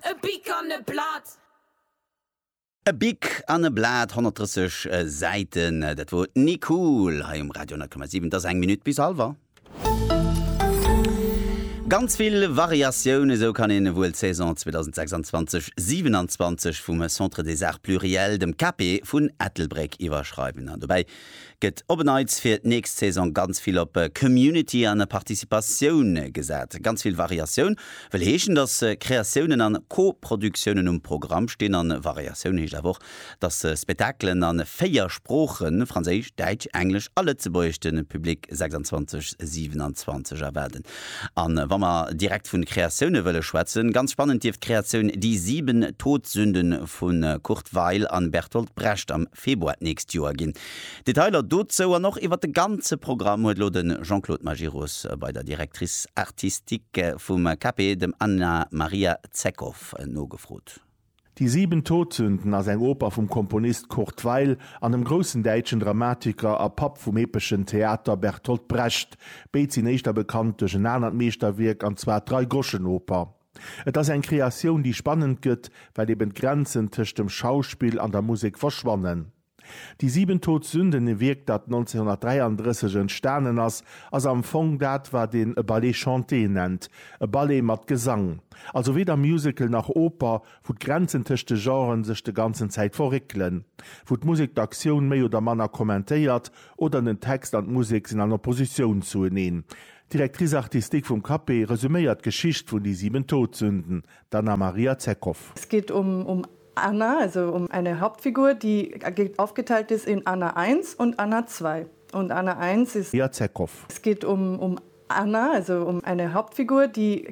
E Bic an e Blat. E Bic an e Blat, 130 Säiten, dat wor d'Nicool hei um Radio 10,7. Et ass eng Minutt bis hallwer. Ganz vill Variatioun, esou kann een wuel d'Saison 2026, 27 vum Centre des Arts Pluriels, dem CAPE vun Ettelbréck iwwerschreiwen. An dobäi gëtt op en Neits fir d'nächst Saison ganz vill op Community an Participatioun gesat. Ganz vill Variatioun wëll heeschen, datt Kreatiounen an Co-Produktiounen um Programm stinn. An Variatioun heescht awer och, dass Spektakelen a 4 Sproochen, Franséisch, Däitsch, Englesch a Lëtzebuergesch, de Public 26, 27 erwaarden. A wa mer direkt vu Kreatioune wëlle schwätzen, ganz spannend dierft d'Kreatioun Die sieben Todsünden vu Kurt Weill an Bertolt Brecht am Februar d'nächst Joer ginn. Detailer dozou an och iwwer de ganze Programm huet elo de Jean-Claude Majerus bei der Directrice artistique vum KP, dem Anna Maria Zekow, nogefrot. Die sieben Todsünden ass eng Oper vum Komponist Kurt Weill an dem groussen däitschen Dramatiker a Papp vum epeschen Theater Bertolt Brecht. Béid sinn éischter bekannt duerch en anert Meeschterwierk, an zwar d'Dreigroschenoper. Et ass eng Kreatioun, déi spannend gëtt, well eben d'Grenzen tëscht dem Schauspill an der Musek verschwannen. Die sieben Todsünden, e Wierk dat 1933 entstanen ass, ass am Fong dat wat een e Ballet chanté nennt, e Ballet mat Gesang. Also weder Musical nach Oper, wou d'Grenzen tëscht de Genren sech de ganzen Zäit verréckelen, wou d'Musek d'Aktioun méi oder manner kommentéiert oder den Text an d'Musek sinn an Oppositioun zueneen. D'Directrice artistique vum Cape resuméiert d'Geschicht vun Die sieben Todsünden, d'Anna-Maria Zekow. Es geht um um Anna, also um eine Hauptfigur, die aufgeteilt ist in Anna 1 und Anna 2. Und Anna 1 ist Jacekov. Es geht um, um Anna, also um eine Hauptfigur, die.